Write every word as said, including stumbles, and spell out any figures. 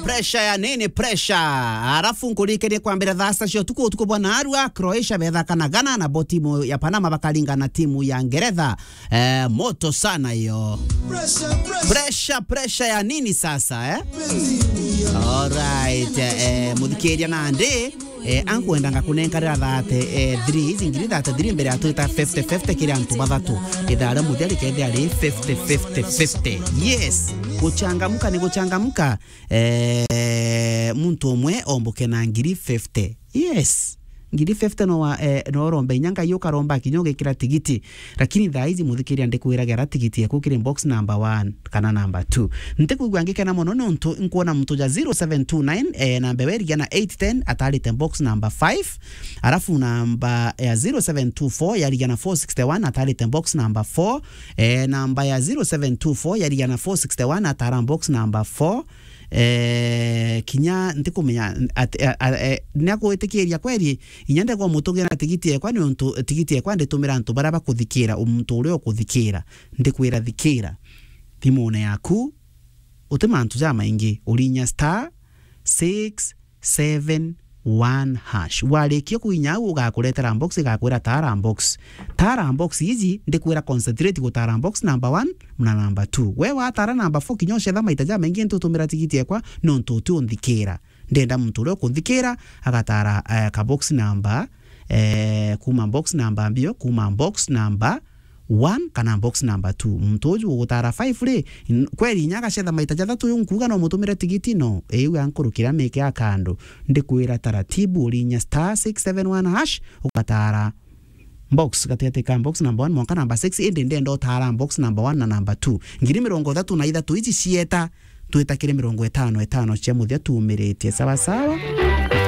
Pressure ya nini? Pressure. Arafu nkuririkanie kwambira thaa sita cia utuku, utuku bwa narua, Croatia bethaka na Ghana, na bo timu ya Panama bakaringa na timu ya Ngeretha. Eh, moto sana hiyo. Pressure, pressure. Pressure, pressure ya nini sasa, eh? Alright, eh, muthikiria nandi, eh, ankwendanga kunenkarira thirty, eh, three, ici ngiri thirty-three mbere ya twita fifty fifty kiri antu bathatu. Ithaa ria muthia rikethia ri fifty fifty fifty. Yes, guchangamuka ni guchangamuka. Eh, muntu umwe omboke na ngiri fifty. Yes. Ngiri fifty no wa, eh, no urombe inya Ngai ukaromba kinya ugikira tigiti. Lakini thaa ici muthikiria ndikwiraga ra tigiti eku kiri box number one kana number two. Ntikwigua ngikena mono nontu nkwona muntu ja zero seven two nine, eh, namba ewe irigia na eight ten atarite box number five. Arafu namba ya zero seven two four yarigia na four sixty-one atarite box number four. Eh, namba ya zero seven two four yarigia na four sixty-one atara box number four. Eh, kinya ntikumenya at-, a-, a-, eh, niakwitikiria kweri, inya ndegwa mutugira tigiti ekwa, niuntu tigiti ekwa nditumira antu baria bakuthikira, muntu uria ukuthikira, ndikwira thikira thimune yaku, uti mantu jamaingi, urinya star six seven one hash. Warikia kuinya au, ugakuretera box, igakwira tara box. Tara box iji, ndikwira concentrate gutara box number one na number two. We watara number four, kinya ucetha maita jamaingi, ntutumira tigiti ekwa, nontu uti unthikira. Ndenda muntu uria ukunthikira, agatara, eh, ka box number, eh, kuma box number mbio, kuma box number one kana box number two. Muntu uju ugutara five ri, n-, kweri inya agacetha maita jathatu, uyu nkuuga no mutumire tigiti? No, iu ankurukira mike ya kando. Ndikwira taratibu, urinya star six seven one hash, ugatara box gatigati ka box number one mwanka number six, indi ndenda utara box number one na number two. Ngiri mirongo ithatu na ithatu iji cieta, twita kiri mirongo itano itano cia muthia tuumiritie. Sawa sawa?